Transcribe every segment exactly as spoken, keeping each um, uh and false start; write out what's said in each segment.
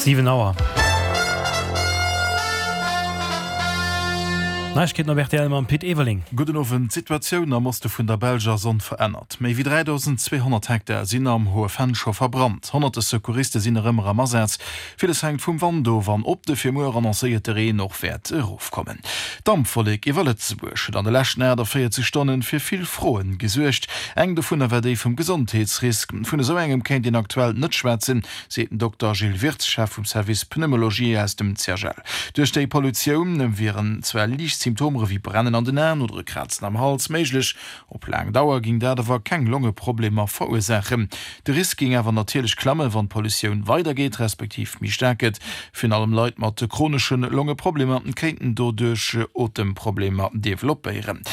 Siwen Auer. Neiegkeeten op rtl mam Pit Everling. Gudden Owend. D'Situatioun am Oste vun der Belsch ass onverännert. Méi wéi dräidausend zweehonnert Hektar sinn am Hohe Venn scho verbrannt. Honnerte Secouriste sinn nach ëmmer am Asaz. Villes hänkt vum Wand of an ob de fir muer annoncéierte Reen och wäert erofkommen. D'Dampwollek iwwer Lëtzebuerg huet an de leschten aachtavéierzeg Stonne fir vill Froen gesuergt. Eng dovunner war déi vum Gesondheetsrisk. Vun esou engem kéint een aktuell net schwätzen, seet den Dokter Gilles Wirtz, Chef vum Service Pneumologie aus dem C H L. Duerch déi Pollutioun wieren zwar liicht Symptomer ewéi Brennen an den Aen oder e Krazen am Hals méiglech, op laang Dauer géing dat awer keng Longeproblemer verursaachen. De Risk géing awer natierlech klammen, wann d'Pollutioun weidergeet, respektiv méi staark gëtt. Virun allem Leit mat chronesche Longeproblemer kéinten doduerch Otemproblemer developpéieren.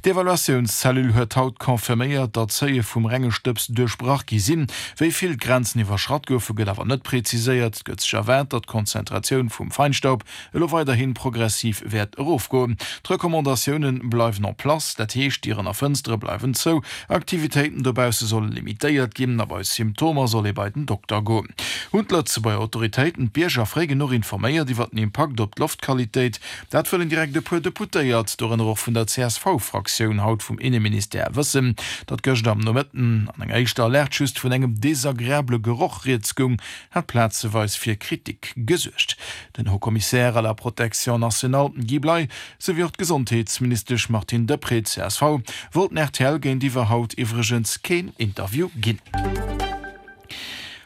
D'Evaluatiounscellule huet haut confirméiert, datt d'Seuile vum renge Stëbs duerchbrach gi sinn. Wéi vill d'Grenzen iwwerschratt goufen, gëtt awer net preziséiert. Et gëtt sech erwaart, datt d'Konzentratioun vum Feinstaub elo weiderhi progressiv wäert erofgoen. D'Recommandatioune bleiwen en place, dat heescht, Dieren a Fënstere bleiwen zou, Aktivitéiten dobausse solle limitéiert ginn a bei Symptomer soll ee bei den Dokter goen. Hunn d'Lëtzebuerger Autoritéiten d'Bierger fréi genuch informéiert iwwer den Impakt op d'Loftqualitéit? Dat wëllen direkt e puer Deputéiert, dorënner och vun der C S V-Fraktioun, haut vum Inneministère wëssen. Datt gëschter am Nomëtten an enger éischter Alerte just vun engem desagreabele Geroch rieds goung, hat plazeweis fir Kritik gesuergt. Den Haut-Commissaire à la protection nationale Guy Bley souwéi och d'Gesondheetsministesch Martine Deprez, C S V, wollten R T L géintiwwer haut iwwregens keen Interview ginn.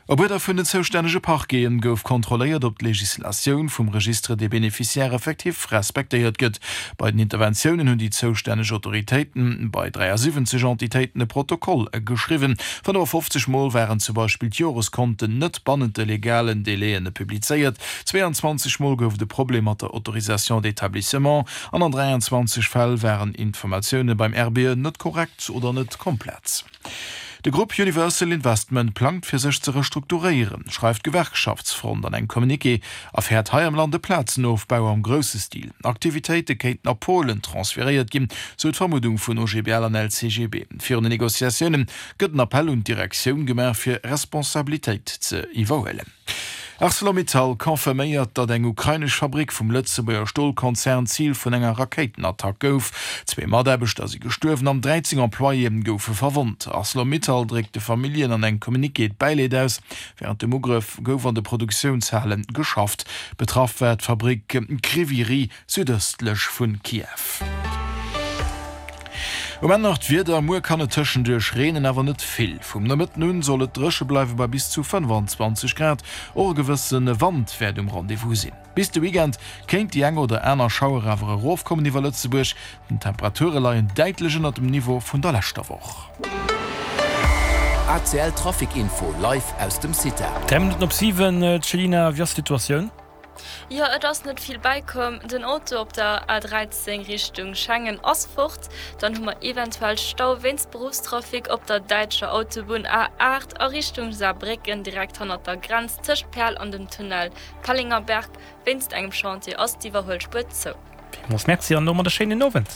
Op Uerder vun den zoustännege Parqueten gouf kontrolléiert, ob d'Legislatioun vum Registre des bénéficiaires effectifs respektéiert gëtt. Bei den Interventiounen hunn déi zoustänneg Autoritéiten bei dräiasiwwenzeg Entitéiten e Protokoll geschriwwen. fënnefafofzeg Mol waren zum Beispill d'Joreskonten net bannent de legalen Délaië publizéiert, zweeanzwanzeg Mol gouf et e Problem mat der Autorisation d'établissement an an dräianzwanzeg Fäll waren Informatioune beim R B E net korrekt oder net komplett. De Grupp Universal Investment plangt fir sech ze restrukturéieren, schreift d'Gewerkschaftsfront an engem Communiqué a fäert hei am Land e Plazenofbau am grousse Stil. Aktivitéite kéinten a Polen transferéiert ginn, sou d'Vermuddung vun O G B L an L C G B. Virun den Negociatioune gëtt en Appell un d'Direktioun gemaach fir Responsabilitéit ze iwwerhuelen. ArcelorMittal confirméiert, datt eng ukrainesch Fabrick vum Lëtzebuerger Stolkonzern Zil vun enger Rakéitenattack gouf. Zwee Mataarbechter si gestuerwen an dräizéng Employéë goufe verwonnt. ArcelorMittal dréckt de Familljen an engem Communiqué d'Bäileed aus. Wärend dem Ugrëff gouf an de Produktiounshale geschafft. Betraff war d'Fabrick Kryvyi Rih südëstlech vu Kiew. Um Enn nach d'Wieder, Muer kann et tëschenduerch reenen, awer net vill. Vum Nomëtten un soll et dréche bleiwe bei bis zu fënnfanzwanzeg Grad. Och e gewësse Wand wäert um Rendez-vous sinn. Bis de Weekend kéint déi eng oder aner Schauer awer erofkommen iwwer Lëtzebuerg. D'Temperature leien däitlech ënnert dem Niveau vun der leschter Woch. A C L Trafic Info live aus dem CITA. Dräi Minutten op siwen, Céline, wéi ass d'Situatioun? Jo, et ass net vill bäikomm. Den Auto op der A dräizéng Richtung Schengen ass fort. Dann hu mer eventuell Stau wéinst Beruffstrafic op der däitscher Autobunn A aacht a Richtung Saarbrécken, direkt hannert der Grenz tëscht Perl an dem Tunnel Pellengerberg. Wéinst engem Chantier ass d'Iwwerhuelspuer zou. Villmools Merci an domat e schéinen Owend.